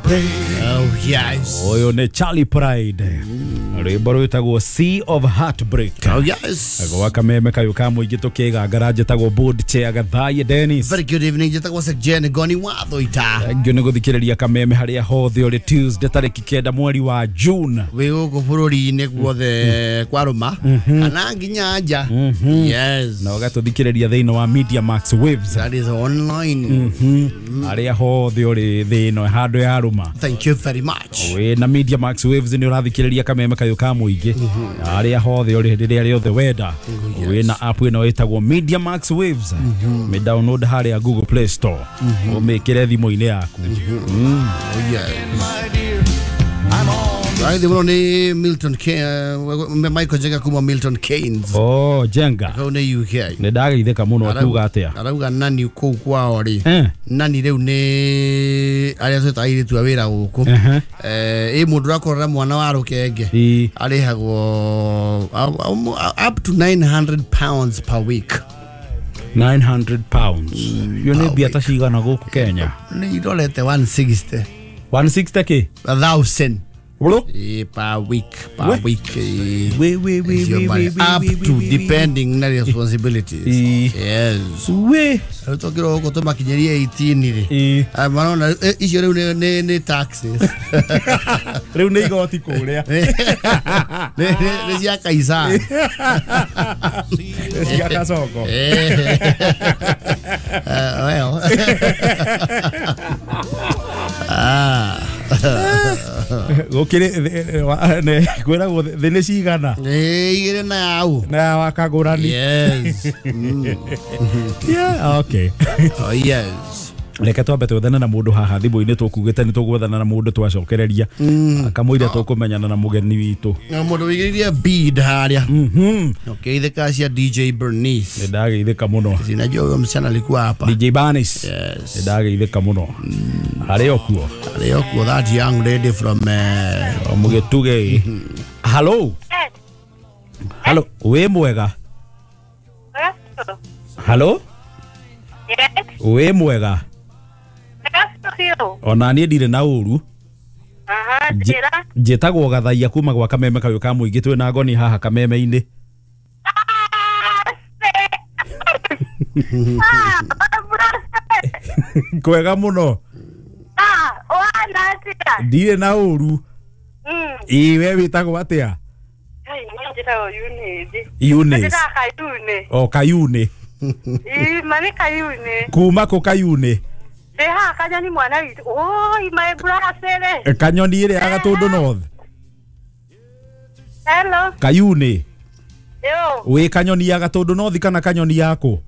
Heartbreak. Oh yes. Ũyũ nĩ Charlie Pride, rwĩmbo rwĩtagwo Sea of Heartbreak. Oh yes. Gwa kameme kayũ ka mũingĩ tũkĩgangara, njĩtagwo board chair Gathaie Dennis. Very good evening. Njĩtagwo Sir Jen Goni watho ita. Thank you nĩ gũthikĩrĩria kameme harĩa hothe ũrĩ Tuesday tarĩki 9 mweri wa June. Wĩ gũkũ bũrũri-inĩ guothe kwarũma kana nginya nja. Yes. Na ũgatũthikĩrĩria thĩinĩ wa Media Max Waves. That is online. Harĩa hothe ũrĩ thĩ ĩno handũ ya rũma. Thank you very much. Wĩ na Media Max Waves nĩ ũrathikĩrĩria kameme kayũ ka mũingĩ harĩa hothe ũrĩ rĩrĩa rĩothe wenda. Wĩ na app ĩno ĩtagwo Media Max Waves, mĩ download harĩa Google Play Store, ũmĩkĩre thimũ-inĩ yaku. Oh yes. My dear, I'm on. Right, mũno nĩ Milton Keynes, Michael Jenga kuma Milton Keynes. Oh, Jenga. Kau nĩ UK. Nĩ ndageithĩka mũno, akiuga atĩa? Arauga nani kũu kwao rĩ, Eh. nani rĩu nĩ arĩa twĩta airĩtu a wĩra gũkũ. Ĩ mũndũ ũrakorera mwana wa rũkenge arĩhagwo up to £900 per week. £900 yo nĩ mbia ta cigana gũkũ Kenya? Nĩ irorete 160. 160 kĩ? A thousand. Bro? Per week, per We. week. We, we, we, Icio we, mari- we, we, up we, we, to we, we. depending na responsibilities. Yes. We. Rĩu tũngĩrwo gũkũ tũmakinyĩrie 18 rĩ. Ah, marona icio rĩu nĩ taxes. Rĩu nĩ igoti kũrĩa. Nĩ cia Kaisari. Cia Kasongo. Well. Ah. Gũkĩrĩ kwĩragwo thĩ nĩ cigana. Igĩrĩ na yau. Na wakagũrani. Yes. Yeah, okay. Oh yes. Reke twambe twethane na mũndũ haha thimũ-inĩ, tũkugĩte nĩ tũgwethana na mũndũ twacokereria akamũira tũkũmenyana na mũgeni witũ. Na mũndũ wĩigĩrĩire bead harĩa. Ũkĩgeithĩka cia DJ Bernice. Nĩ ndageithĩka mũno. Sinajua huyo msichana alikuwa hapa. DJ Banis. Yes. Nĩ ndageithĩka mũno harĩ o kuo. Arĩ o kuo, that young lady from O mũgĩtuge. Hello. Hello, wĩ mwega? Hello. Yes, Wĩ mwega? that's Ona niĩ ndirĩ na ũru. Aha, njĩra. Njĩtagwo Gathaia kuma gwa kameme kayũ ka mũingĩ, twĩ na ngoni haha kameme-inĩ. Ah, brother. Kwega mũno. Ah, wana atĩa? Ndirĩ na ũru. Ĩ we wĩtagwo atĩa? Ai, niĩ njĩtagwo Eunice. Eunice. Njĩtaga Kayune. O Kayune. Ĩ, ma nĩ Kayune. Kuma kũ Kayune? Ndĩ haha Kanyoni mwana witũ. Oi, my brother. Kanyoni ĩrĩa ya Gatũndũ North. Hello. Kayune. Yo, Wĩ Kanyoni ya Gatũndũ North kana Kanyoni yaku?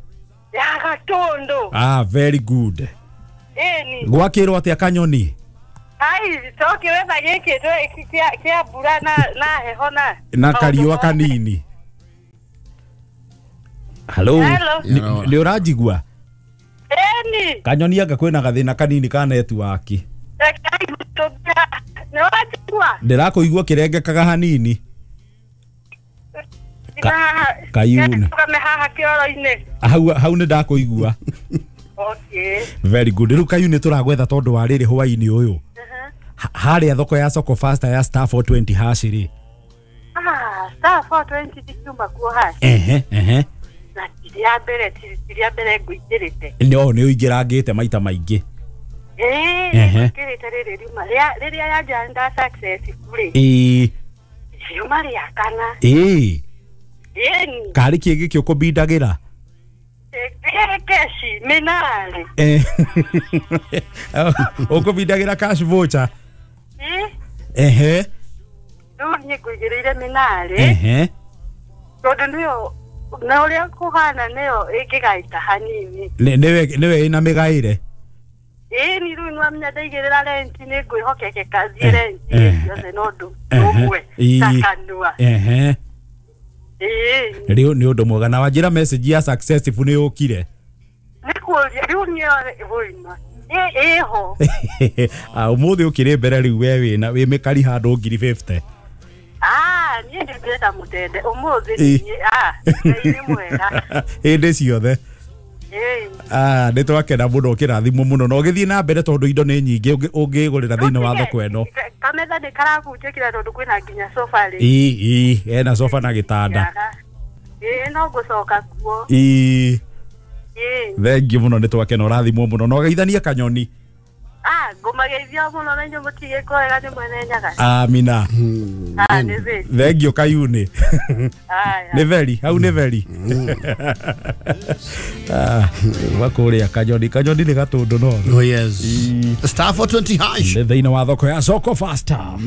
ya Gatũndũ. Ah, very good. Ĩni. Gwakĩrwo atĩa Kanyoni? Ai, tũkĩwetha gĩkĩ kĩa mbura na heho na Na maũndũ kariũa mothe. kanini. Hello. Hello. Nĩ ũranjigua? Ĩni. Kanyoni anga kwĩna gathĩna kanini ka network. Nĩ wanjigua? Ndĩrakũigua kĩrengekaga hanini. Kayune. Tũgame haha kĩoro-inĩ. Hau nĩ ndakũigua. Okay. Very good. Rĩu Kayune tũragwetha tondũ wa rĩrĩ hwaĩ-inĩ ũyũ. Harĩa thoko ya Soko Faster ya star 420 hash rĩ. Ah, star 420 ndikiuma kuo hash. Ehe, ehe. Na ti rĩa mbere, ti rĩa mbere ngũingĩrĩte. No nĩ ũingĩrangĩte maita maingĩ. Ĩĩ, Ehe. ngũingĩrĩte rĩrĩ riuma rĩrĩa yanja nda successful rĩ. Ĩĩ. Riuma rĩa kana. Ĩĩ. Ĩni. Karĩ kĩ gĩkĩ ũkũbindagĩra? Keshi, mĩnarĩ. Ũkũbindagĩra cash voucher. Ĩĩ. Ehe. Rĩu niĩ ngũigĩrĩire mĩnarĩ. Ehe. Tondũ nĩyo na ũrĩa kũhana nĩyo ĩngĩgaita hanini. Nĩwe ĩna mĩgaĩre. Ĩni rĩu nĩwamenya ndaigĩrĩra renti nĩ ngwĩhokekeka thiĩ renti ciothe no ũndũ ũmwe ta kanua. Ehe. Ĩĩ. Rĩu nĩ ũndũ mwega na wanjĩra message ya successful nĩ yũkire. Nĩ kũria rĩu nĩyo ĩma ĩho. Ah, ũmũthĩ ũkĩrĩ mbere rĩu we wĩna wĩ mĩkari handũ 50,000. Ah, niĩ ndĩrenda mũtende ũmũthĩ Ĩĩ. niĩ ah, Ngai nĩ mwega. Hĩndĩ ciothe. Nä twakena må no å kä rathimwo må no na å gä thiä na mbere tondå indo nä nyingä å ngä gå rä ra thä inä wa thoko ä no. Kametha nä karabunjä kira tondå kwä na nginya sofa rä. Ii ena sofa na gä tanda. No ngå coka kuo. Ii thengiå må no nä twakena å rathimwo må no na å geithanie kanyoni. Ngũmageithia mũno na inyuĩ mũtige kwega nĩ mwene Nyaga. Amina. Thengiũ Kayuni. Nĩ veri, hau nĩ veri. Wakũrĩa kanyoni, kanyoni nĩ gatũndũ no. Oh yes. Star 420 hash. Nĩ thĩinĩ wa thoko ya Soko Faster.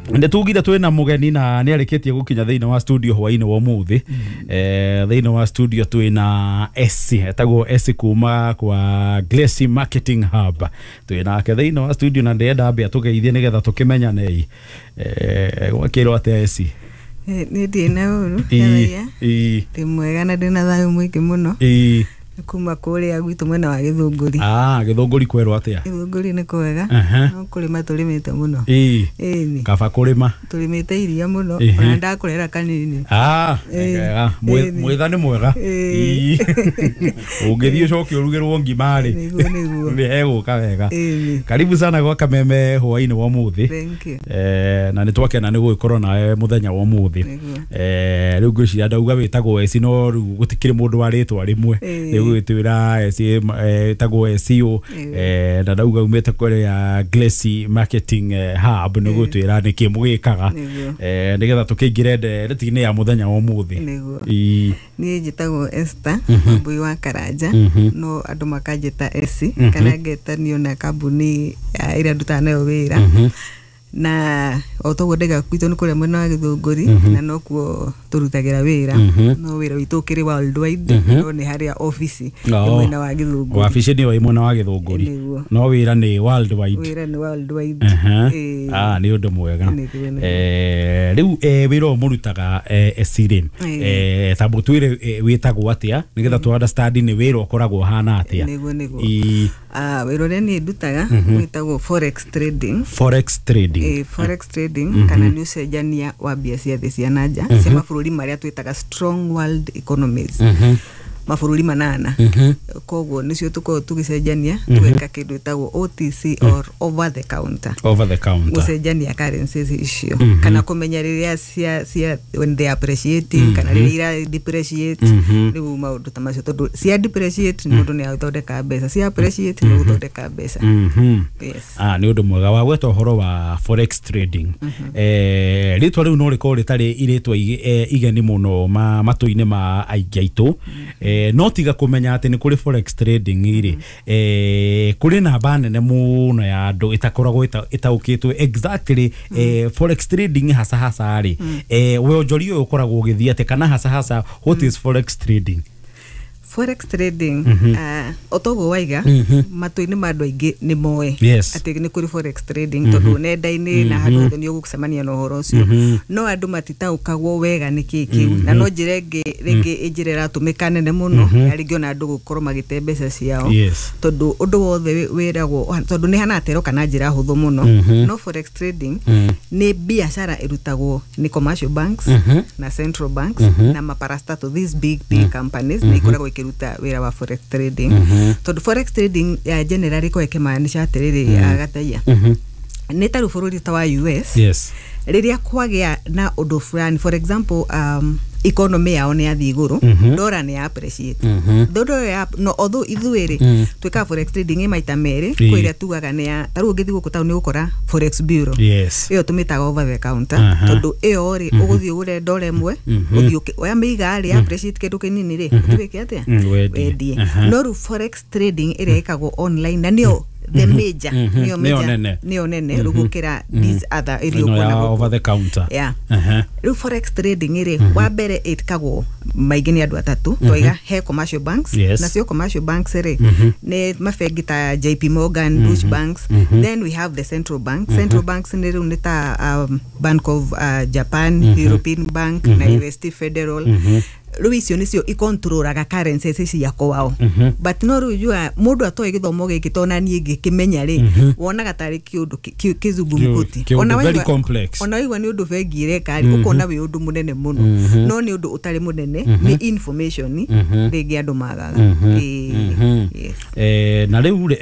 Nĩ tugire twĩna mũgeni na nĩ arĩkĩtie gũkinya thĩinĩ wa studio hwainĩ wa ũmũthĩ. Thĩinĩ wa studio twĩna S, etagwo S kuma kwa Glassy Marketing Hub. Twĩna nake thĩinĩ wa studio na ndĩrenda ambe atũgeithie nĩgetha tũkĩmenyane. Gwakĩrwo atĩa S? Nĩ ndĩ na ũru. Ndĩ mwega na ndĩ na thayũ mũingĩ mũno. Kuma kũrĩa gwitũ mwena wa Gĩthũngũri. Gĩthũngũri kwerwo atĩa? Gĩthũngũri nĩ kwega. No kũrĩma tũrĩmĩte mũno. Ĩĩ. Kaba kũrĩma. Tũrĩmĩte iria mũno ona ndakũrera kanini. Wega. Mwetha nĩ mwega. Ũngĩthiĩ ũcoke ũrugĩrwo ngima rĩ. Nĩguo nĩguo. Nĩ hegũka wega. Karibu sana gwa Kameme hwainĩ wa ũmũthĩ. Thank you. Na nĩ twakena nĩ gũgĩkorwo nawe mũthenya wa ũmũthĩ. Rĩu ngwĩciria ndauga wĩtagwo Esi no rĩu gũtikĩrĩ mũndũ wa rĩtwa rĩmwe. Rĩu twira Esi tagwo SEO na ndauga umĩte kũrĩa Glassy Marketing Hub nĩ gũtwĩra nĩkĩ mũgĩkaga nĩgetha tũkĩingĩre ndeereti-inĩ ya mũthenya wa ũmũthĩ. Niĩ njĩtagwo Esther Wambui wa Karanja no andũ makanjĩta Esi kana ngetanio na kambuni ĩrĩa ndutaga nayo wĩra. Na o toguo ndaiga gwitũ nĩ kũrĩa mwena wa Gĩthũngũri na nokuo tũrutagĩra wĩra no wĩra witũ ũkĩrĩ worldwide no nĩ harĩa ofici mwena wa Gĩthũngũri. Wabici nĩyo ĩ mwena wa Gĩthũngũri no wĩra nĩ worldwide. Wĩra nĩ worldwide. Nĩ ũndũ mwega. Rĩu wĩra ũyũ mũrutaga Esi rĩ, ta mũtwĩre wĩtagwo atĩa nĩgetha tũ understand nĩ wĩra ũkoragwo ũhana atĩa? Nĩguo nĩguo. Wĩra ũrĩa niĩ ndutaga wĩtagwo forex trading. Forex trading. Forex trading kana nĩ ũcenjania wa mbia cia thĩ cia na nja cia mabũrũri marĩa twĩtaga strong world economies. Mabũrũri manana. Koguo nĩcio tũkoragwo tũgĩcenjania tũgeka kĩndũ gĩtagwo OTC or over the counter. Over the counter. Gũcenjania currencies icio kana kũmenya rĩrĩa cia when they appreciating kana rĩrĩa ira depreciate. Rĩu maũndũ ta macio tondũ cia depreciate mũndũ nĩ athondeka mbeca, cia appreciate nĩ gũthondeka mbeca. Yes. Nĩ ũndũ mwega wa gweta ũhoro wa forex trading. Rĩtwa rĩu no rĩkorwo rĩtarĩ irĩtwa igeni mũno matũ-inĩ ma aingĩ aitũ. No tiga kũmenya atĩ nĩ kũrĩ forex trading rĩ, kũrĩ namba nene mũno ya andũ ĩtakoragwo ĩtaũkĩtwo exactly forex trading hasa hasa rĩ, wonjoria ũyũ ũkoragwo ũgĩthiĩ atĩa kana hasa hasa what is forex trading? Forex trading o toguo waiga matũ-inĩ ma andũ aingĩ nĩ moĩ atĩ nĩ kũrĩ forex trading tondũ nenda-inĩ na handũ hothe nĩ ũgũcemania na ũhoro ũcio no andũ matitaũkagwo wega nĩ kĩĩ kĩu na no njĩra ĩngĩ rĩngĩ njĩra ĩratũmĩka nene mũno ya rĩngĩ ona andũ gũkorwo magĩte mbeca ciao tondũ ũndũ wothe wĩragwo tondũ nĩ hana atero kana njĩra hũthũ mũno no forex trading nĩ biacara ĩrutagwo nĩ commercial banks na central banks na maparastatal these big big companies nĩ ikoragwo ikiruta wĩra wa forex trading tondũ forex trading ya generally ko ĩkĩmaanisha atĩrĩrĩ agataia nĩ ta rĩu bũrũri ta wa US. Yes. Rĩrĩa kwagĩa na ũndũ fulani for example economy yao nĩ yathiĩ igũrũ dollar nĩ ya appreciate dollar ya no although ithuĩ rĩ twĩkaga forex trading ĩ maita merĩ kwĩ ĩrĩa tugaga nĩ ya ta rĩu ũngĩthiĩ gũkũ taũni ũgũkora forex bureau. Yes. Ĩyo tũmĩtaga over the counter tondũ ĩyo rĩ ũgũthiĩ ũgũre dollar ĩmwe ũthiĩ wamĩiga rĩ appreciate kĩndũ kĩnini rĩ ũthiĩ wĩke atĩa wendie. No rĩu forex trading ĩrĩa ĩkagwo online na nĩyo the major nĩyo nene rũgũkĩra these other ĩrĩa ũkuona over the counter. Yeah. Rĩu forex trading ĩrĩ wa mbere ĩkagwo maingĩ nĩ andũ atatũ twaiga he commercial banks. Nacio commercial banks rĩ nĩ mabengi ta JP Morgan, Deutsche Banks. Then we have the central banks. Central banks nĩ rĩu nĩ ta Bank of Japan, European Bank na UST Federal. Rĩu icio nĩcio ikontrolaga currencies cia kwao. But no rĩu jua mũndũ atoĩ gĩthomo gĩkĩ tona niĩ ngĩkĩmenya rĩ, wonaga tarĩ kĩũndũ kĩzungumkuti. Kĩũndũ very complex. Ona waigua nĩ ũndũ bengi ĩreka rĩ, ũkona wĩ ũndũ mũnene mũno, no nĩ ũndũ ũtarĩ mũnene, nĩ information rĩngĩ andũ magaga. Yes. Na rĩu rĩ,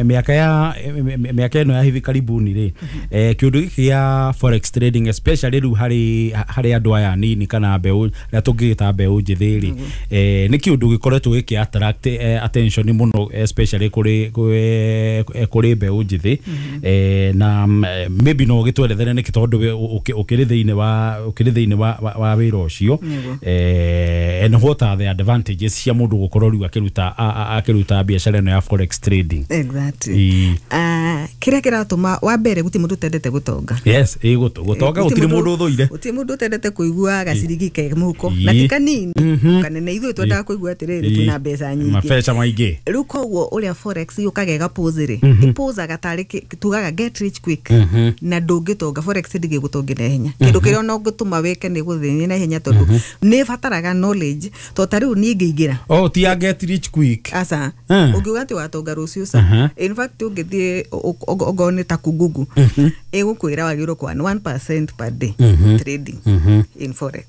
mĩaka ya mĩaka ĩno ya hivi karibuni rĩ, kĩũndũ gĩkĩ gĩa forex trading, especially rĩu harĩ andũ aya anini kana mbeũ arĩa tũngĩgĩta mbeũ njĩthĩ rĩ, nĩ kĩũndũ gĩkoretwo gĩkĩ attract attention mũno, especially kũrĩ mbeũ njĩthĩ. Na maybe no ũgĩtwerethere nĩkĩ, tondũ we ũkĩrĩ thĩinĩ wa wĩra ũcio. And what are the advantages cia mũndũ gũkorwo rĩu akĩruta biacara ĩno ya forex trading? Exactly. Kĩrĩa kĩratũma, wa mbere, gũtirĩ mũndũ ũtendete gũtonga. Yes, ĩ gũtonga gũtirĩ mũndũ ũthũire. Gũtirĩ mũndũ ũtendete kũigua gacirigi ke mũhuko, na ti kanini kanene. Ithuĩ twendaga kũigua atĩrĩrĩ, twĩna mbeca nyingĩ, mabeca maingĩ. Rĩu koguo ũrĩa forex yũkaga ĩgapose rĩ, ĩposaga tarĩ tugaga get rich quick, na ndũngĩtonga. Forex ndĩgĩgũtongia na ihenya. Kĩndũ kĩrĩa ona ũngĩtũma wĩke nĩ gũthĩnia na ihenya, tondũ nĩ ĩbataraga knowledge. To ta rĩu niĩ ngĩingĩra Oh, ti ya get rich quick? Aca. Ũngiuga atĩ watonga rũciũ, ca. In fact, ũngĩthiĩ okorwo nĩ ta kugugu, ĩgũkwĩra wagĩrĩirwo kwa 1% per day trading in forex,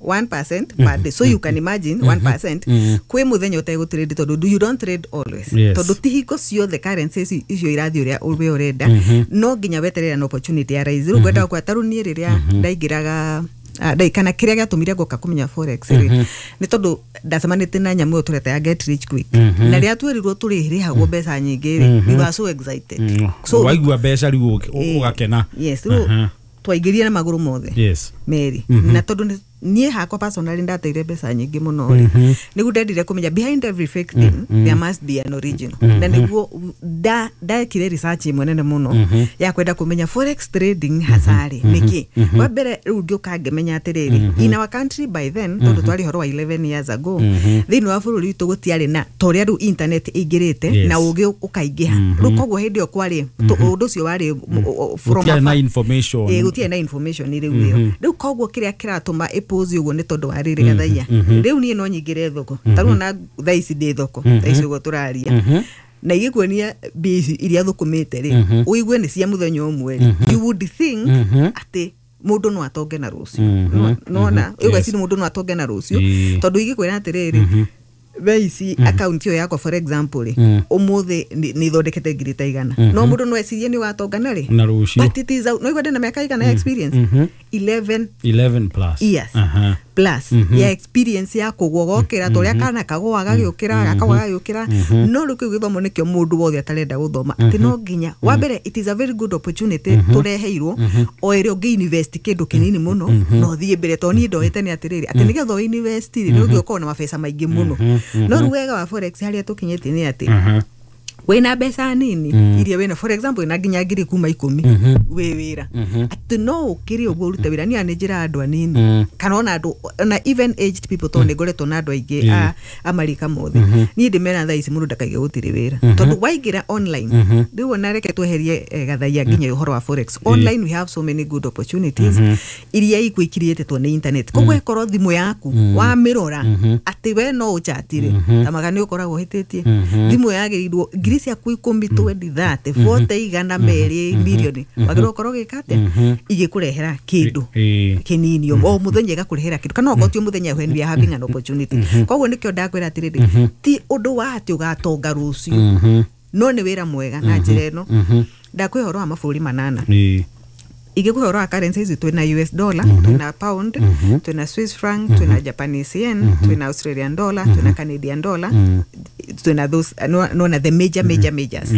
1% per day. So you can imagine 1% kwĩ mũthenya ũtegũtrade, tondũ you don't trade always. Tondũ ti hingo ciothe currencies icio irathiĩ ũrĩa we ũrenda. No nginya weterere an opportunity ya rise. Rĩu ngwendaga kwa tarĩu niĩ rĩrĩa ndaingĩraga, kana kĩrĩa gĩatũmire ngoka kũmenya forex rĩ, nĩ tondũ ndacemanĩtie na nyamũ ĩyo tũreta ya get rich quick, na rĩrĩa twerirwo tũrĩrĩhagwo mbeca nyingĩ rĩ, we were so excited. So waigua mbeca rĩu ũgakena. Yes, rĩu twaingĩrire na magũrũ mothe merĩ, na tondũ niĩ hakwa personally ndateire mbeca nyingĩ mũno rĩ, nĩguo ndendire kũmenya behind every fake thing there must be an original. Na nĩguo ndekire research ĩmwe nene mũno ya kwenda kũmenya forex trading hasarĩ nĩkĩ. Wa mbere, rĩu ngĩũka ngĩmenya atĩrĩrĩ, in our country by then, tondũ twarĩ ũhoro wa 11 years ago, thĩinĩ wa bũrũri witũ gũtiarĩ na ta ũrĩa rĩu internet ĩingĩrĩte na ũgĩ ũkaingĩha. Rĩu koguo hĩndĩ ĩyo kwarĩ ũndũ ũcio warĩ from Gũtiarĩ na afar. information. Ĩ, gũtirĩ na information rĩu ĩyo. Rĩu koguo kĩrĩa kĩratũma ĩpose ũguo nĩ tondũ wa rĩrĩ, gathaia, rĩu niĩ no nyingĩre thoko ta rĩu ona thaa ici ndĩ thoko, thaa ici ũguo tũraria, na igĩkuonia mbia ici iria thũkũmĩte rĩ, ũigue nĩ cia mũthenya ũmwe rĩ, you would think atĩ mũndũ no atonge na rũciũ. Nona ũgeciria mũndũ no atonge na rũciũ, tondũ ingĩkwĩra atĩrĩrĩ, thaa ici account ĩyo yakwa, for example rĩ, ũmũthĩ nĩ ithondekete 100,000, no mũndũ no ecirie nĩ ũgatonga na rĩ? Na rũciũ. But it is out. No igua ndĩna mĩaka igana ya experience? 11 11 plus years plus ya experience ya kũgwa gokĩra, ta ũrĩa kana kagũa gagĩũkĩra, gakagwa gagĩũkĩra. No rĩu kĩu gĩthomo nĩkĩo mũndũ wothe atarenda gũthoma, atĩ no nginya wa mbere, it is a very good opportunity tũreheirwo, o ĩrĩa ũngĩ invest kĩndũ kĩnini mũno na ũthiĩ mbere. Tondũ niĩ ndoĩte nĩ atĩrĩrĩ, atĩ nĩgetha ũ invest rĩ, nĩ ũngĩ ũkorwo na mabeca maingĩ mũno. No rĩu wega wa forex harĩa tũkinyĩtie nĩ atĩ wĩna mbeca nini iria wĩna, for example, wĩna nginya 10,000 wĩ wĩra, atĩ no ũkĩrĩ ũguo ũrute wĩra. Niĩ nĩ njĩra andũ anini kana ona andũ ona even aged people, tondũ nĩ ngoretwo na andũ aingĩ a marika mothe. Niĩ ndĩmera thaa ici mũndũ ndakaige gũtirĩ wĩra, tondũ waingĩra online rĩu, ona reke tweherie gathaia nginya ũhoro wa forex, online we have so many good opportunities iria ikwĩkirĩtwo nĩ internet. Koguo ĩkorwo thimũ yaku wamĩrora atĩ we no ũchatire tamaga nĩ ũkoragwo ũhĩtĩtie. Thimũ yagĩrĩirwo 10,000, 20, 30, 40, 200, mirioni, wagĩrĩirwo gũkorwo ũgĩka atĩa igĩkũrehera kĩndũ kĩnini o mũthenya, ĩgakũrehera kĩndũ, kana okorwo ti o mũthenya, when we are having an opportunity. Koguo nĩkĩo ndakwĩra atĩrĩrĩ, ti ũndũ wa atĩ ũgatonga rũciũ, no nĩ wĩra mwega na njĩra ĩno. Ndakwĩ ũhoro wa mabũrũri manana, igĩkũhe ũhoro wa currencies: twĩna US dollar, twĩna pound, twĩna Swiss franc, twĩna Japanese yen, twĩna Australian dollar, twĩna Canadian dollar, twĩna those nona the major major majors.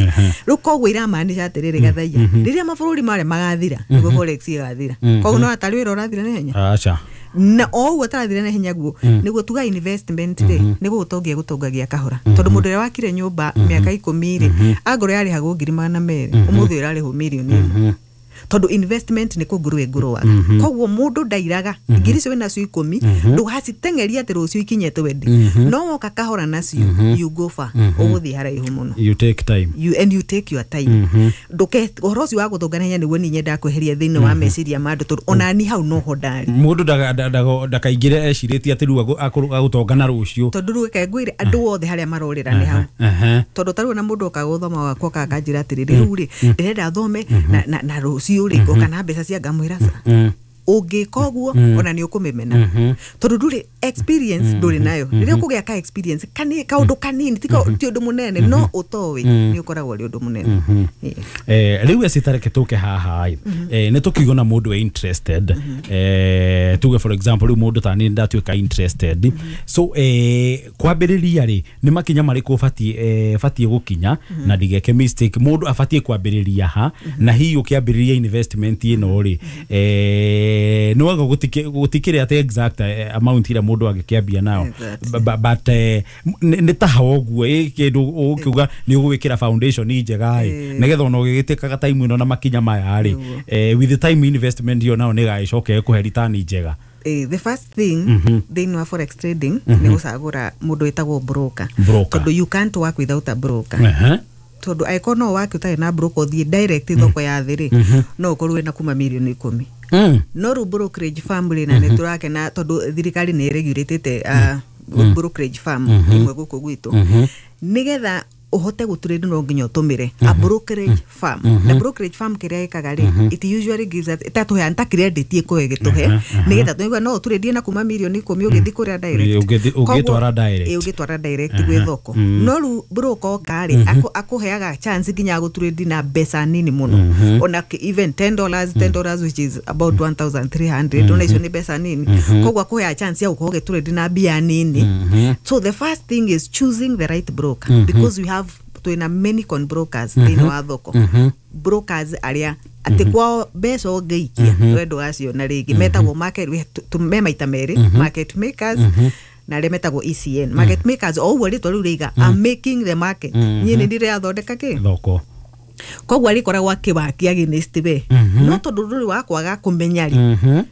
Rĩu koguo iramaanisha atĩrĩrĩ, gathaia, rĩrĩa mabũrũri marĩa magathira, nĩguo forex ĩgathira. Koguo no atarĩ wĩra ũrathira na ihenya, aca. Na o ũguo ũtarathira na ihenya guo nĩguo tuga investment rĩ, nĩguo gũtongia gũtongagia kahora, tondũ mũndũ ũrĩa wakire nyũmba mĩaka 10 rĩ, angorwo yarĩhagwo 200,000, ũmũthĩ ĩrarĩhwo 1,000,000. Tondu investment nĩ kũngũrũ ĩngũrũaga. Koguo mũndũ ndairaga ngiri icio wĩnacio 10 ndũgaciteng'eria atĩ rũciũ ikinye 20, no woka kahora nacio, you go far, ũgũthiĩ haraihu mũno. You take time. You, and you take your time. Nduke ũhoro ũcio wa gũthũnga na ihenya nĩguo niĩ nyendaga kweheria thĩinĩ wa meciria ma andũ, tondũ onani hau noho ndarĩ. Mũndũ ndakaingĩre ecirĩtie atĩ rĩu agũtonga na rũciũ. Tondũ rĩu reke ngwĩre, andũ othe harĩa marorĩra nĩ hau. Tondũ tarĩu ona mũndũ okaga gũthoma wakwa kakanjĩra atĩrĩrĩ, rĩu rĩ ndĩrenda thome na rũciũ rĩ ngoka na mbeca cia, ngamwĩra ca, ũngĩka ũguo ona nĩ ũkũmĩmena, tondũ ndũrĩ experience, ndũrĩ nayo. Rĩrĩa ũkũgĩa ka experience kani kaũndũ kanini, ti ũndũ mũnene, no ũtoĩ nĩ ũkoragwo ũrĩ ũndũ mũnene. Yes. Rĩu ecitareke tũke haha ĩ, nĩ tũkiuga na mũndũ e interested, tuge for example rĩu mũndũ ta niĩ ndatuĩka interested, so kwambĩrĩria rĩ, nĩ makinya marĩkũ batiĩ gũkinya na ndigeke mistake? Mũndũ abatiĩ kwambĩrĩria ha? Na hihi ũkĩambĩrĩria investment ĩno rĩ, nĩ wega gũtikĩrĩ atĩ exact amount ĩrĩa mũndũ angĩkĩambia nayo? But nĩ ta ha ũguo ĩ kĩndũ ũkiuga nĩ ũgwĩkĩra foundation njega ĩ, nĩgetha ona ũgĩgĩtĩkaga time ĩno na makinya maya rĩ, with the time investment ĩyo nayo nĩ ĩgagĩcoka ĩkũhe return njega. The first thing thĩinĩ wa forex trading nĩ gũcagũra mũndũ wĩtagwo broker. Broker. Tondũ you can't work without a broker. Tondũ angĩkorwo no wake ũtarĩ na broker ũthiĩ direct thoko ya thĩ rĩ, no ũkorwo wĩna kuma mirioni 10. No rĩu brokerage firm rĩ, na nĩ tũrakena tondũ thirikari nĩ ĩregulatĩte brokerage firm imwe gũkũ gwitũ. Nĩgetha ũhote gũtrade no nginya ũtũmĩre a brokerage firm. Na brokerage firm kĩrĩa ĩkaga rĩ, it usually gives us, ĩtatũheana ta credit, ĩkũhe gĩtũhe nĩgetha tũigua no ũtũrĩndie na kuma mirioni 10 ũgĩthiĩ kũrĩa direct. Ũngĩtwara direct. Ĩ, ũngĩtwara direct gwĩ thoko. No rĩu broker oka rĩ, akũheaga chance nginya ya gũtrade na mbeca nini mũno, ona even $10, $10 which is about 1300, ona icio nĩ mbeca nini. Koguo akũheaga chance ya gũkorwo ũgĩtrade na mbia nini. So the first thing is choosing the right broker, because we have, twĩna many con brokers thĩinĩ wa thoko, brokers arĩa atĩ kwao mbeca ũngĩikia we ndũgaciona rĩngĩ, metagwo market, me maita merĩ, market makers na arĩa metagwo ECN. Market makers, o ũguo rĩtwa rĩu rĩiga, are making the market, niĩ nĩ ndĩrathondeka kĩ thoko. Koguo arĩkoragwo akĩwakia against we, no tondũ ndũrĩ wa kwaga kũmenya rĩ,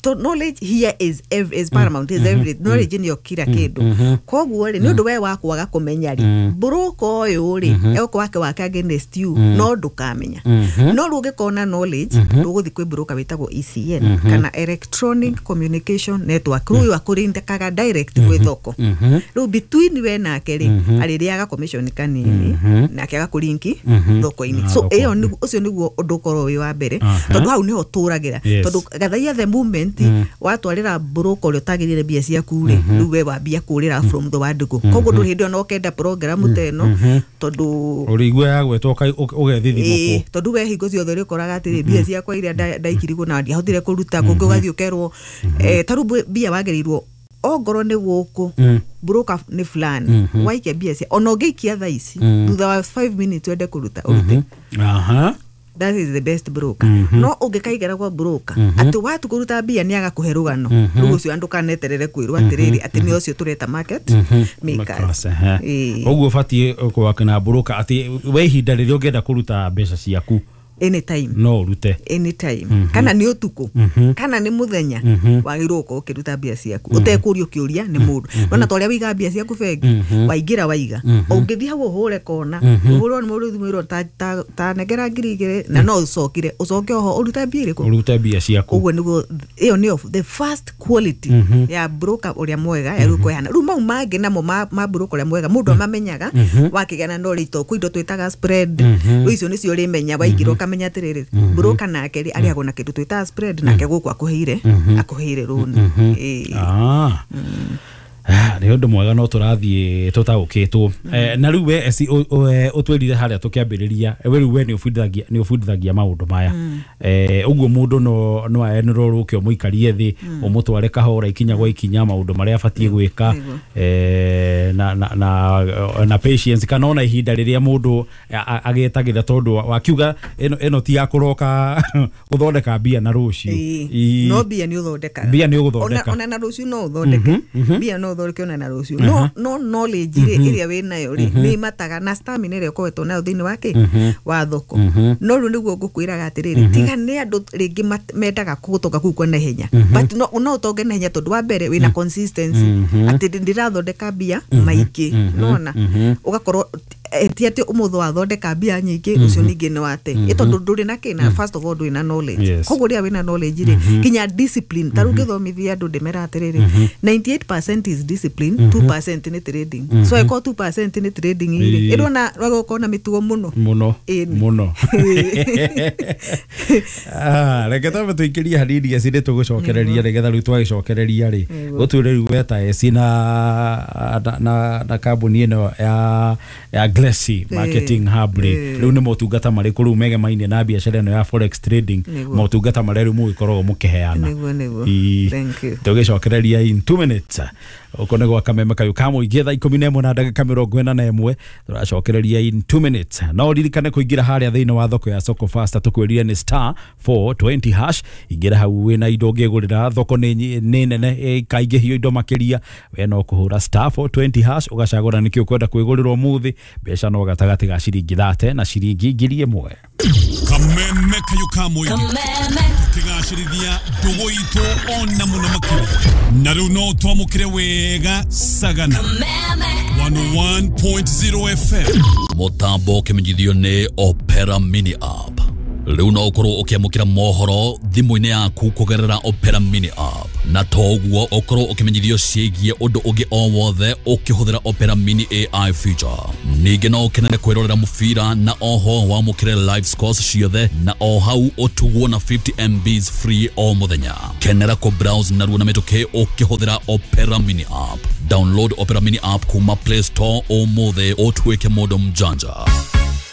to knowledge here is paramount, is every knowledge nĩyo kila kĩndũ. Koguo rĩ, nĩ ũndũ we wa kwaga kũmenya rĩ, broker ũyũ rĩ egũkorwo akĩwaka against you, no ndũkamenya. No rĩu ũngĩkorwo na knowledge, ndũgũthiĩ kwĩ broker wĩtagwo ECN kana Electronic Communication Network. Rĩu ũyũ akũrindĩkaga direct gwĩ thoko. Rĩu between we nake rĩ, arĩrĩaga commission kanini, nake agakũrinki thoko-inĩ. So Thoko. ĩyo ũcio nĩguo ũndũ ũkorwo wĩ wa mbere, tondũ hau nĩho tũragĩra. Tondũ gathaia the moment watwarĩra broker ũrĩa ũtagĩrĩire mbia ciaku rĩ, rĩu we wambia kũrĩra from the word go. Koguo ndũrĩ hĩndĩ ona ũkenda program ta ĩno, tondũ ũrĩigua yagwetwo ũgethithimũkwo. Tondũ we hingo ciothe ũrĩkoraga atĩrĩ, mbia ciakwa iria ndaikirigwo na ndiahotire kũruta kũngĩ, ũgathiĩ ũkerwo ta rĩu mbia wagĩrĩirwo ongorwo nĩ gũkũ broker nĩ fulani waikia mbia cia, ona ũngĩikia thaa ici, thutha wa 5 minutes wende kũruta, ũrute. That is the best broker. No ũngĩkaigara kwa broker atĩ watu kũruta mbia nĩ agakũhe rũgano rĩu, ũcio andũ kaneterere kwĩrwo atĩrĩrĩ atĩ nĩ ũcio tũreta market makers. Makers, ehe. Ũguo ũbatiĩ gwaka na broker atĩ we ihinda rĩrĩa ũngĩenda kũruta mbeca ciaku, Anytime. no ũrute. Anytime, kana nĩ ũtukũ kana nĩ mũthenya, wagĩrĩirwo gũkorwo ũkĩruta mbia ciaku ũtekũrio kĩũria nĩ mũndũ. Nona ta ũrĩa wĩigaga mbia ciaku bengi, waingĩra waiga, ũngĩthiĩ hau ũhũre kona, ũhũrwo nĩ mũndũ thimũ ĩrwo ta nengera 2000, na no ũcokire ũcoke oho ũrute mbia irĩkũ? Ũrute mbia ciaku. Ũguo nĩguo ĩyo nĩyo the first quality ya broker ũrĩa mwega ya rĩu kũheana. Rĩu mau mangĩ namo ma broker ũrĩa mwega mũndũ amamenyaga wakĩgĩa na knowledge, to kwĩ indo twĩtaga spread. Rĩu icio nĩcio ũrĩmenya waingĩra, ũkamenya atĩrĩrĩ, broker nake rĩ arĩagwo na kĩndũ twĩtaga spread, nake gũkũ akũheire rũni. Ĩĩ. Ah, nĩ ũndũ mwega no tũrathiĩ tũtaũkĩtwo. Na rĩu we eci ũtwĩrire harĩa tũkĩambĩrĩria, we rĩu we nĩ ũbundithagia maũndũ maya. Ũguo mũndũ no aenrwo rũke ũmũikarie thĩ, ũmũtware kahora ikinya gwa ikinya maũndũ marĩa abatiĩ gwĩka, na patience, kana ona ihinda rĩrĩa mũndũ agĩetagĩra, tondũ wakiuga ĩno ti ya kũroka gũthondeka mbia na rũciũ. Ĩĩ. No mbia nĩ ũthondekaga. Mbia nĩ ũgũthondeka. Ona na rũciũ no ũthondeke mbia, no ũthondeke ona na rũciũ no no knowledge rĩ ĩrĩa wĩ nayo rĩ nĩ mataga na stamina ĩrĩa ũkoretwo nayo thĩinĩ wake wa thoko. No rĩu nĩguo ngũkwĩraga atĩrĩrĩ, tiga nĩ andũ rĩngĩ mendaga gũtonga kũu kwa naihenya, but no ũtonge naihenya tondũ wa mbere wĩna consistency atĩ ndĩrathondeka mbia maingĩ, nona ũgakorwo ti atĩ ũmũthĩ wathondeka mbia nyingĩ ũcio ningĩ nĩ wate ĩ tondũ ndũrĩ na kĩna. First of all ndũrĩ na knowledge. Koguo rĩrĩa wĩna knowledge rĩ, kinya discipline, ta rĩu ngĩthomithia andũ ndĩmera atĩrĩrĩ, 98% is discipline, 2% nĩ trading. So ĩkorwo 2% nĩ trading rĩ, ĩrona wagũkorwo na mĩtugo mũno mũno mũno. Reke twambe tũingĩrie hanini eci nĩ tũgũcokereria nĩgetha rĩu twagĩcokereria rĩ gũtuĩre rĩu weta eci na kambuni ĩno ya Glessy Marketing Hub rĩ, rĩu nĩ motungata marĩkũ rĩu megemainie na biacara ĩno ya forex trading, motungata marĩa rĩu mũgĩkoragwo mũkĩheana? Tũgĩcokereria in 2 minutes. Ũko nĩ gwa Kameme kayũ ka mũingĩ thaa 11 na ndagĩka 41, tũracokereria in 2 minutes. No ririkane kũingĩra harĩa thĩinĩ wa thoko ya Soko Fasta, tũkwĩrire nĩ star 420 hash. Ingĩra hau wĩna indo ũngĩgũrĩra, thoko nĩ nene ĩkaingĩhio indo makĩria, we no kũhũra star 420 hash ũgacagũra nĩkĩ ũkwenda kwĩgũrĩra ũmũthĩ, mbeca no gatagatĩ ga ciringi 30 na ciringi 1000. Kameme kayũ ka mũingĩ tũkĩgacĩrithia ndũgũ itũ ona mũno makĩria, na rĩu no twamũkĩre wega Sagana 101.0 FM. Mũtambo ũkĩmenyithio nĩ Opera Mini App. Rĩu no ũkorwo ũkĩamũkĩra mohoro thimũ-inĩ yaku kũgerera Opera Mini App, na to ũguo ũkorwo ũkĩmenyithio ciĩgiĩ ũndũ ũngĩ o wothe ũkĩhũthĩra Opera Mini AI feature. Ningĩ no ũkenere kwĩrorera mũbira na oho wamũkĩre live scores ciothe, na o hau ũtugwo na 50 MBs free o mũthenya. Kenera kũ browse narua na mĩtũkĩ ũkĩhũthĩra Opera Mini App. Download Opera Mini App kuma Play Store ũmũthĩ ũtuĩke mũndũ mjanja.